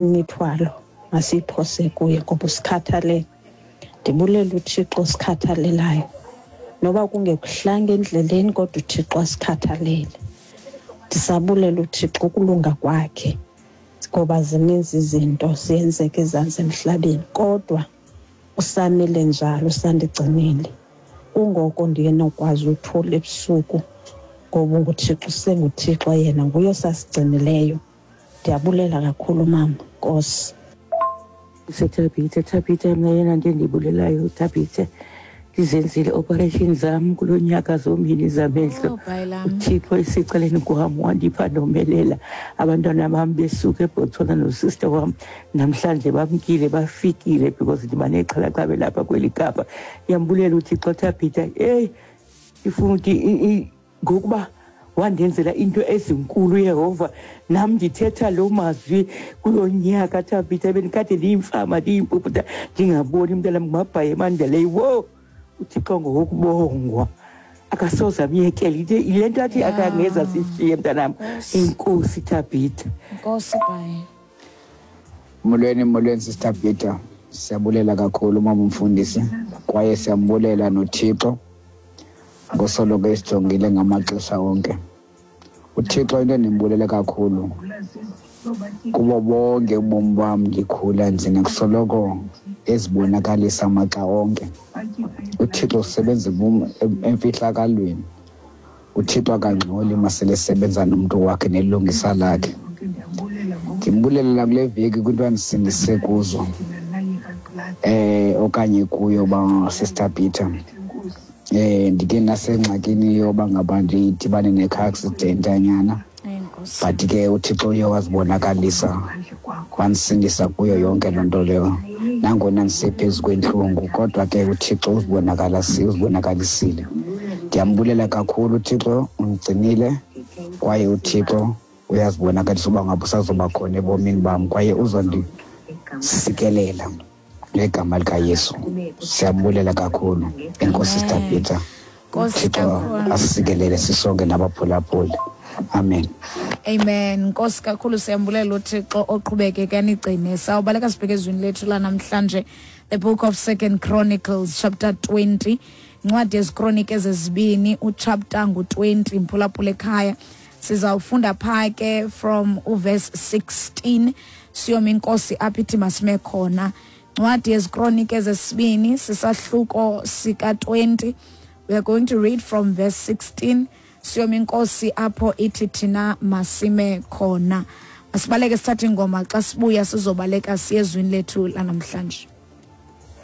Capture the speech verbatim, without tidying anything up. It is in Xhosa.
Imithwalo masiyiphose kuye ngoba usikhathalele. Ndibulela uThixo osikhathalelayo. Noba kungekuhlanga endleleni kodwa uThixo asikhathalele. Ndisabulela uThixo ukulunga kwakhe ngoba zininzi izinto ziyenzeka ezantsi emhlabeni kodwa usamile njalo, usandigcinile. Kungoko ndiye nokwazi uthula ebusuku ngoba unguThixo, usenguThixo yena, nguye osasigcinileyo. Ndiyabulela kakhulu mama. Nkosi. Thabithe, Thabithe, mna yena nto endiyibulelayo Thabithe, ndizenzile operation zam kulo nyaka zombini zamehlo. Oh, bhayi-lam. UThixo esecaleni kwam wandipha ndomelela. Abantwana bam besuka eBotswana nosister wam namhlanje bamkile, bafikile because ndiba nexhala xa belapha kweli Kapa. Ndiyambulela uThixo Thabithe. Eyi, ndifuna ukuthi i- i- ngokuba wandenzela into ezinkulu Yehova, nam ndithetha loo mazwi kulo nyaka Thabithe. Bendikade ndiyimfama, ndiyimpuphuta, ndingaboni mntanam, ngumabhayi emandeleyo. Wo, uThixo ngowokubongwa, akasoze amyekele. Into- yile nto athi Ya. akangeza sishiye mntanam. Nkosi. Enkosi Thabithe. Nkosi bhayi. Molweni, molweni Sister Peter. Siyabulela kakhulu mama umfundisi kwaye siyambulela noThixo ngosoloko esijongile ngamaxesha onke. UThixo into endimbulele kakhulu kubo bonke ubomi bam ndikhula nje nakusoloko ezibonakalisa maxa onke. UThixo usebenza ebum- em- emfihlakalweni. UThixo akangxoli masele esebenza nomntu wakhe nelungisa lakhe. Ndimbulela kule veki kwinto andisindise kuzo eh okanye kuyo ba Sister Peter. Eh ndike nasengxakini yoba ngaba ndidibane ne-car accident anyana, Enkosi. but ke uThixo uye wazibonakalisa wandisindisa kuyo yonke loo nto leyo. Nangona ndisephezu kwentlungu kodwa ke uThixo uzibonakalasi uzibonakalisile. Ndiyambulela kakhulu uThixo, undigcinile kwaye uThixo uyazibonakalisa uba ngaba usazoba khona ebomini bam kwaye uzondisikelela ngegama likaYesu. Siyambulela kakhulu. Enkosi Sister Amen. Peter. Nkosi uThixo kakhulu. asikelele sisonke nabaphulaphuli. Amen. Amen. Nkosi kakhulu, siyambulela uThixo oqhubekeke anigcine. Sawubaleka sibheke ezwini lethu lanamhlanje, the book of Second Chronicles chapter twenty. Incwadi yezikronike ezezibini uchapter ngu-twenty, mphulaphula ekhaya. Sizawufunda phaa ke from uverse sixteen siyoma inkosi apho ithi masime khona. Incwadi yezikronike ezesibini sisahluko sika-twenty. We are going to read from verse sixteen siyoma inkosi apho ithi thina masime khona. Masibaleke sithathe ingoma, xa sibuya sizobaleka siye ezwini lethu lanamhlanje.